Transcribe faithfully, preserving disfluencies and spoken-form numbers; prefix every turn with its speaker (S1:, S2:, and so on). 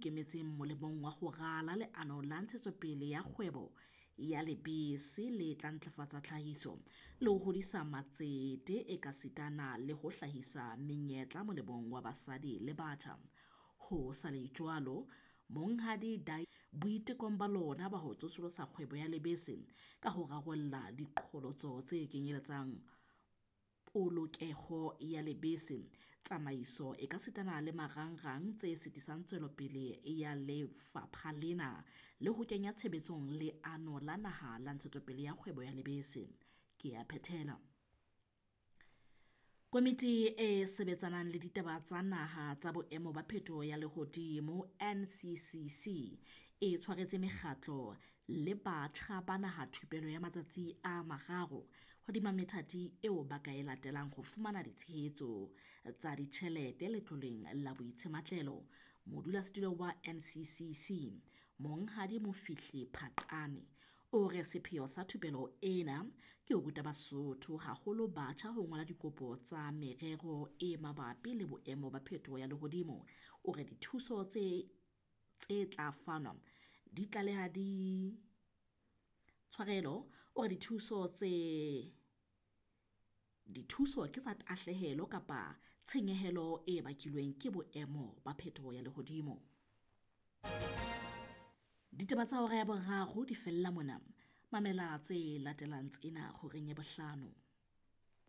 S1: ikemetseng molemong wa ho rala leano la ntshetsopele ya kgwebo ya lebese le tla ntlafatsa tlhahiso le ho hodisa matsete ekasitana le ho hlahisa menyetla molemong wa basadi le batjha. Ho sa le jwalo, Monghadi Di boitekong ba lona ba ho tsosolosa kgwebo ya lebese ka ho rarolla diqholotso tse kenyeletsang polokeho ya lebese, tsamaiso ekasitana le marangrang tse sitisang tswelopele ya lefapha lena le ho kenya tshebetsong Leano la Naha la Ntshetsopele ya Kgwebo ya Lebese. Ke a phethela. Komiti e sebetsanang le ditaba tsa naha tsa boemo ba phetoho ya lehodimo N C C C e tshwaretse mekgatlo le batjha ba naha thupelo ya matsatsi a mararo hodima methati eo ba ka e latelang ho fumana ditshehetso tsa ditjhelete letloleng la boitshematlelo. Modulasetulo wa N C C C, Monghadi Mofihli Phaqane, o re sepheo sa thupelo ena ke ho ruta Basotho, haholo batjha, ho ngola dikopo tsa merero e mabapi le boemo ba phetoho ya lehodimo. O re dithuso tse tse tla fanwa di tlaleha di tshwarelo o re dithuso tse dithuso ke tsa tahlehelo kapa tshenyehelo e bakilweng ke boemo ba phetoho ya lehodimo. Ditaba tsa hora ya boraro di fella mona. Mamela tse latelang tsena horeng ya bohlano.